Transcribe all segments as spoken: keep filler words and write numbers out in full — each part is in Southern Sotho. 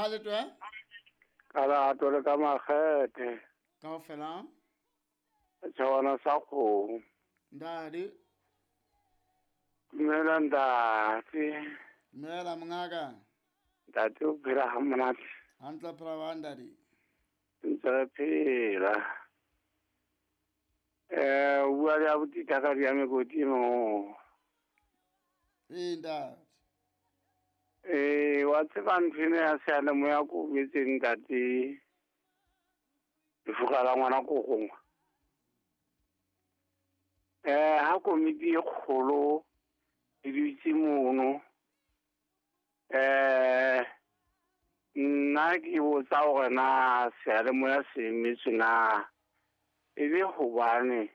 Ha le twe? Ka lerato le ka makgethe. Kaofela. Tjhawana sa kgomo. Ntate. Dumela ntate. Dumela mongaka. Ntate o phela ha monate. Hantle phela wa ntate. Ntse re phela. Eh, o bua le abuti Thakadi ya Mekoti mo. Ee ntate. Eh, wa tseba ntho ena ya seyalemoya ko betseng ntate. Lefuka la ngwana ko gongwe. Eh, ha komiti e kgolo e dutse mono. Eh, nna ke botsa hore na seyalemoya se emetswe na. E le hobane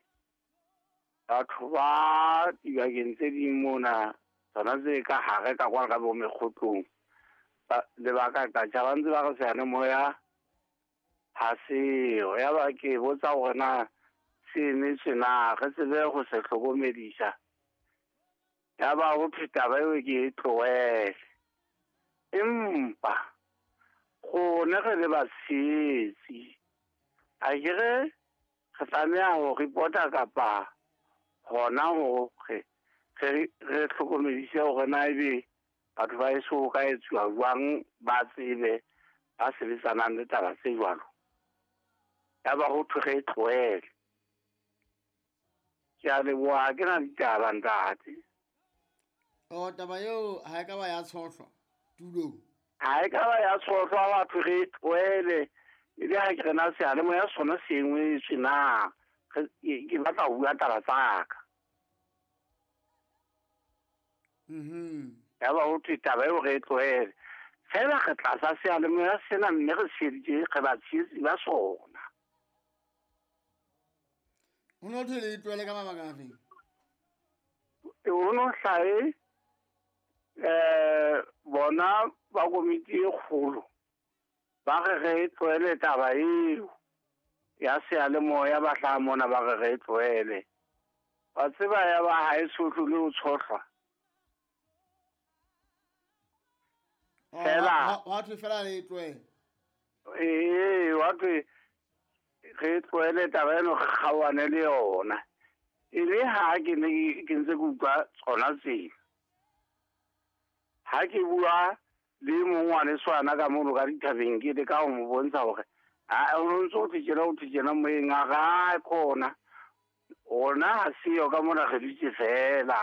batho ba dibakeng tse ding mona tsona tse ka hare ka kwa ka bo mekgotlong lebaka ka tjha ba ntse ba re seyalemoya ha seo. Ya ba ke botsa hore na se emetswe na, re tsebe ho se hlokomedisa. Ya ba ho thwe taba eo ke e tlohele. Empa rona re le batshehetsi akere re tlameha ho report-a kapa hona hore re re hlokomedise hore na ebe batho ba eso ho ka etsuwa jwang, ba tsebe ba sebetsanang le taba tse jwalo. Ya ba ho thwe re e tlohele. Ke a leboha, ha ke na ditaba ntate. O taba eo ha e ka ba ya tshohlwa tulong. Ha e ka ba ya tshohlwa, batho re e tlohele. E le ha ke re na seyalemoya sona se engwetswe na. Ke batla ho bua taba tsa ka. Mhm. Ya ba ho thwe taba eo re e tlohele. Fela re tlasa seyalemoya sena mme re tsheheditse, re batshehetsi ba sona. Ho no thwe le e tlohele ka mabaka afeng? Ho no hlahe eh bona ba komiti e kgolo ba re re e tlohele taba eo ya seyalemoya, ba hlaha mona ba re re e tlohele. Wa tseba ya ba ha e tshohlwe le ho tshohlwa. Fela wa thwe fela le e tlohele. Ee, wa thwe re tlohele taba eno, re kgaohane le yona. E le ha ke ne ke ntse ke utlwa tsona tsena. Ha ke bua le mong ngwaneso ana ka mono ka dithabeng, ke leka ho mo bontsha hore ha o ntso o thwe tjena, o thwe tjena moyeng, a re ha khona. Ona ha seyo ka mona, re dutse fela.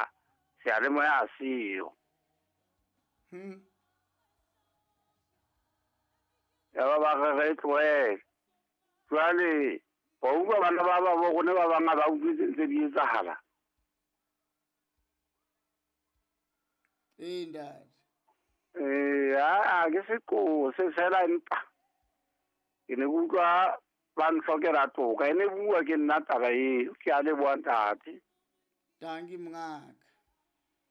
Seyalemoya ha seyo. Hmm. Ya ba ba re re tlohele. Jwale wa utlwa bana ba ba bo rona ba bang ha ba utlwe tse ntse di etsahala. Ee ntate. Eh, ha ke seqo se fela empa ke ne ke utlwa ba ntlhokela toka. E ne bua ke nna taba eo. Ke a leboha ntate. Tanki mongaka.